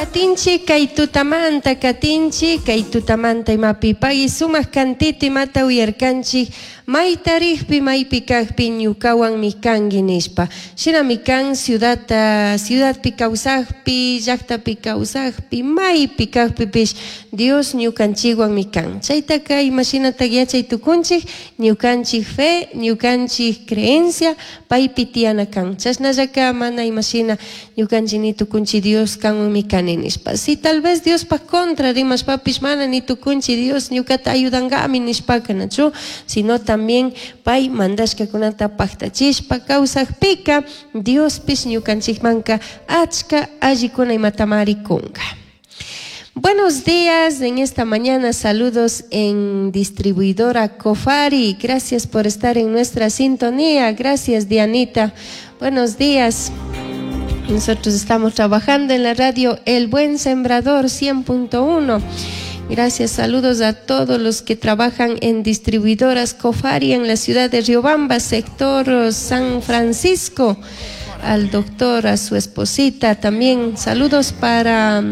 Katinchik kay tutamanta, katinchik kay tutamanta imapi pagui sumak cantito imata uyarkanchik mayta rikpi maypi kakpi ñukawanmi kanki nishpa. Shinami kan ciudadta, ciudadpi kawsakpi, llaktapi kawsakpi, maypi kakpipish Dios ñukanchikwanmi kan. Chaytaka imashinatak yachay tukunchik ñukanchik fe, ñukanchik creencia paypi tiyana kan. Chashnallaka mana imashina ñukanchik ni tukunchik Dios kanwanmi kani nishpa. Si tal vez Diospaj contra rimashpapish mana ni tukunchik Dios ñukata ayudankami nishpaka nachu, sino también pay mandashkakunata paktachishpa kawsakpika Diospish ñukanchikmanka achka allikuna imatamari kunka. Buenos días, en esta mañana saludos en distribuidora Cofari. Gracias por estar en nuestra sintonía. Gracias, Dianita. Buenos días. Nosotros estamos trabajando en la radio El Buen Sembrador 100.1. Gracias, saludos a todos los que trabajan en distribuidoras Cofari en la ciudad de Riobamba, sector San Francisco. Al doctor, a su esposita también. Saludos para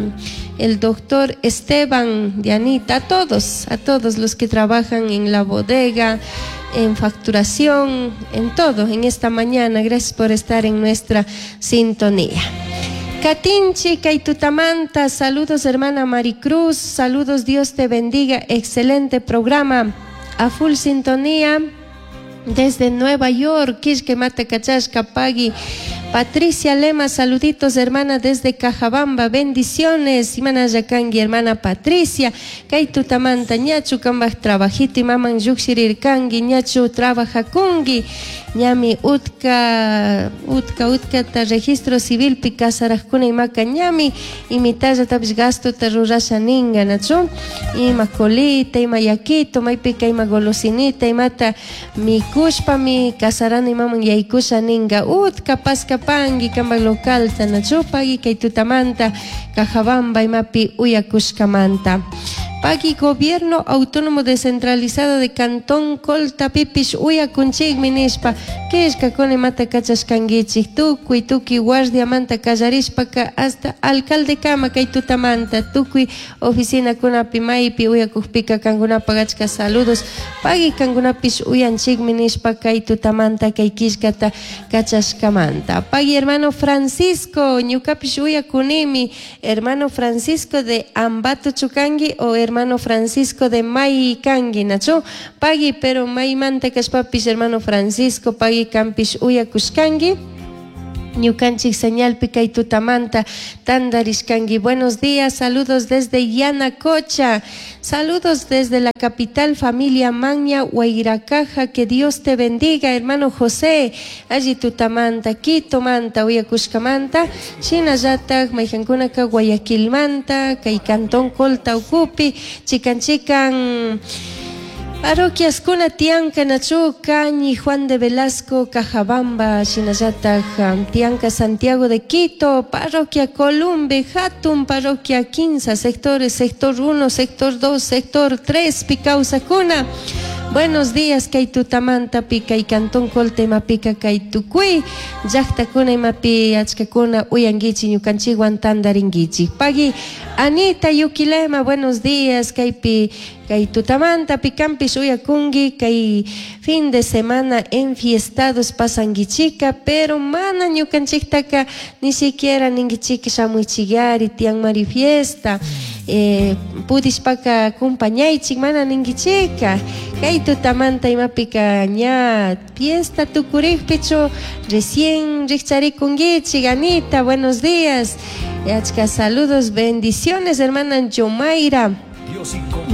el doctor Esteban, Dianita, a todos los que trabajan en la bodega, en facturación, en todo, en esta mañana. Gracias por estar en nuestra sintonía. Katinchi, Kaitutamanta, saludos hermana Maricruz, saludos, Dios te bendiga, excelente programa, a full sintonía. Desde Nueva York, Quisque Mata Cachasca, Pagui, Patricia Lema, saluditos hermana desde Cajabamba, bendiciones, Imana Yakangi, hermana Patricia, Kaitutamanta, ñachu kambaj trabajito, maman yukshirirkangi, ñachu trabajakungi, ñami utka, utka, utka ta registro civil pi casarajkuna imaka ñami, imitalla tapish gasto ta rurasha ninga, nachu, ima colita, ima yaquito, maypika ima golosinita, imata mikushpami casarana imaman yaykusha ninga, utka paskapangi kambaj localta, nachu, pagui kay tutamanta, Cajabamba imapi uyakushkamanta. Pagui Gobierno Autónomo Descentralizado de Cantón Colta pipish uyakunchikmi nishpa, killkakuna imata kachashkankichik, tukuy tukuy guardiamanta kallarishpaka hasta alcalde kama kay tutamanta, tukuy oficinakunapi maypi uyakukpika kankunapak achka saludos, pagui kankunapish uyanchikmi nishpa kay tutamanta kay killkata kachashkamanta. Pagui hermano Francisco, ñukapish uyakunimi, hermano Francisco de Ambato Chukangi o hermano Francisco de Maikangi, nachu, pagui, pero maymanta kashpapish hermano Francisco, pagui kampish uyakushkangi. Ñukanchik señalpi kay tutamanta tandarishkangi. Buenos días, saludos desde Yanacocha, saludos desde la capital familia Maña Huayracaja, que Dios te bendiga, hermano José, allí tutamanta, Quito manta, uyakushkamanta, shinallatak mayjankunaka Guayaquilmanta, kay cantón Colta ukupi, chikan chikan parroquiaskuna tiyanka nachu, Cañi, Juan de Velasco, Cajabamba, shinallatak tiyanka Santiago de Quito, parroquia Columbe, Hatun, parroquia 15, sectores, sector 1, sector 2, sector 3, Picausacuna. Buenos días, kay tutamanta pi, kay cantón Colta imapika kay tukuy llaqtakuna imapi achkakuna uyankichik ñukanchikwan tantarinkichik. Pagui Anita Yuquilema, buenos días, kaypi kay tutamanta pikampish uyakunki, kay fin de semana enfiestados pasankichika, pero mana ñukanchiktaka ni siquiera ninkichik shamuychikari tiyanmari fiesta. Pudishpaka acompañaychik mana ninkichika. Kay tutamanta imapika ña fiesta tukurikpichu recién rikcharikunkichik. Anita, buenos días. Achka saludos, bendiciones, hermana Yomaira.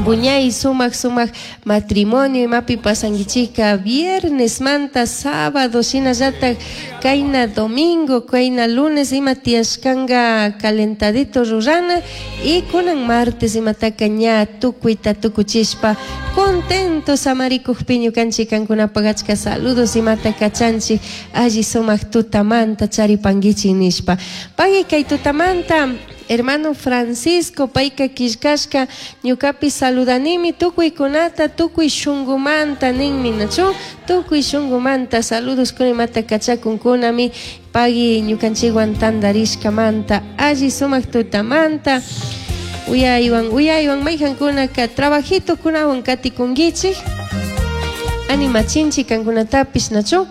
Buñay sumak sumak matrimonio imapi pasankichika viernes manta sábado shinallatak kayna domingo kayna lunes ima tiyashkanka calentadito rurana y kunan martes imataka ña tukuyta tukuchishpa contento samarikukpi ñukanchik kankunapak achka saludos imata kachanchik alli sumak tutamanta charipankichik nishpa. Pagui kay tutamanta hermano Francisco payka killkashka ñukapi saludanimi tukuykunata tukuy shunkumanta ninmi nachu tukuy shunkumanta saludos kunimata kachakunkunami. Pagui ñukanchikwan tantarishkamanta alli sumak tutamanta uyaywan uyaywan maykankunaka trabajitokunawan katikunkichik animachinchik kankunatapish nachu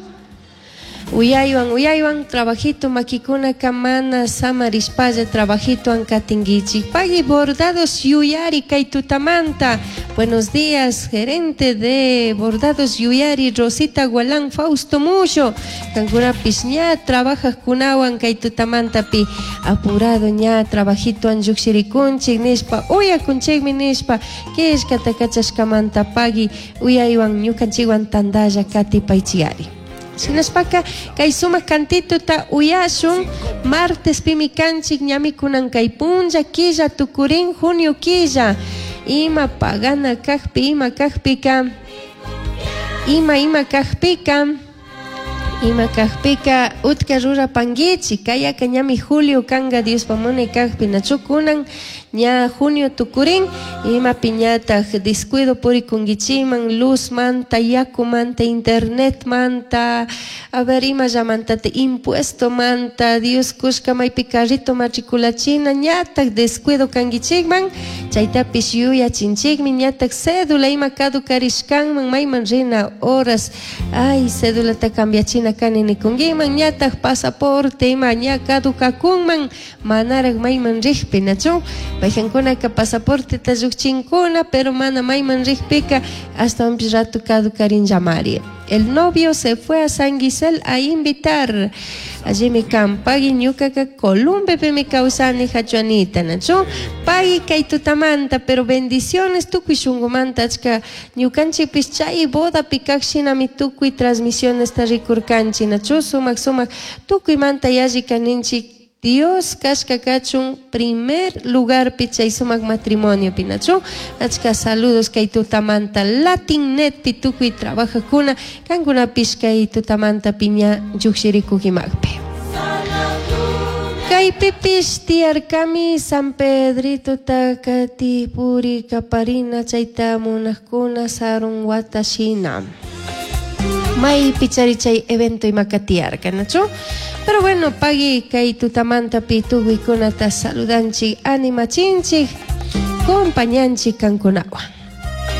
uyaywan uyaywan trabajito makikunaka mana samarishpalla trabajitowan katinkichik. Pagui Bordados Yuyari kay tutamanta. Buenos días, gerente de Bordados Yuyari, Rosita Gualán, Fausto Mullo. Kankunapish ña trabajajkunawan kay tutamantapi apurado ña trabajitowan llukshirikunchik nishpa uyakunchikmi nishpa killkata kachashkamanta pagui uyaywan ñukanchikwan tantalla katipaychikari. Shinashpaka kay sumak kantituta uyashun martes pimi kanchik ñami kunan kay punlla killa tukurin junio killa ima pagana kakpi ima kakpika ima ima kakpika ima kakpika utka rurapankichik kayaka ñami julio kanka Diospa munay kakpi nachu kunan ña junio tukurin ima piñataq descuido purikunkichikman luz manta yakumanta internet manta a ver imallamantata impuesto manta Dios kushka maypi carrito matriculachina ñataq descuido kankichikman chaytapish yuyachinchikmi ñataq cédula ima caducarishkanman mayman rina horas ay cédulata cambiachina kani nikunkiman ñataq pasaporte ima ña caducakunman manaraq mayman riqpi nachu paykankunaka pasaporteta llukchinkuna pero mana mayman riqpika ashtawanpish rato caducarinllamari. El novio se fue a San Gisel a invitar. Allimi kan pagui ñukaka Columbepimi kawsani hachuanita nachu pagui kay tutamanta pero bendiciones tukuy shunkumanta achka ñukanchikpish chay bodapi kaq shinami tukuy transmisionesta rikurkanchik nachu sumak sumak tukuymanta yalli kaninchik Dios kashka kachun primer lugarpi chay sumak matrimoniopi nachu achka saludos kay tutamanta Latin-Netpi tukuy trabajajkuna kankunapish kay tutamanta piña llukshirikujimakpi. Kaypipish tiyarkami San Pedrito Takatipuri kaparina chayta munajkuna sarun wata shina. Maypi chari chay evento imaka tiyarka nachu pero bueno pagui kay tutamantapi tukuykunata saludanchik animachinchik compañanchik kankunawan.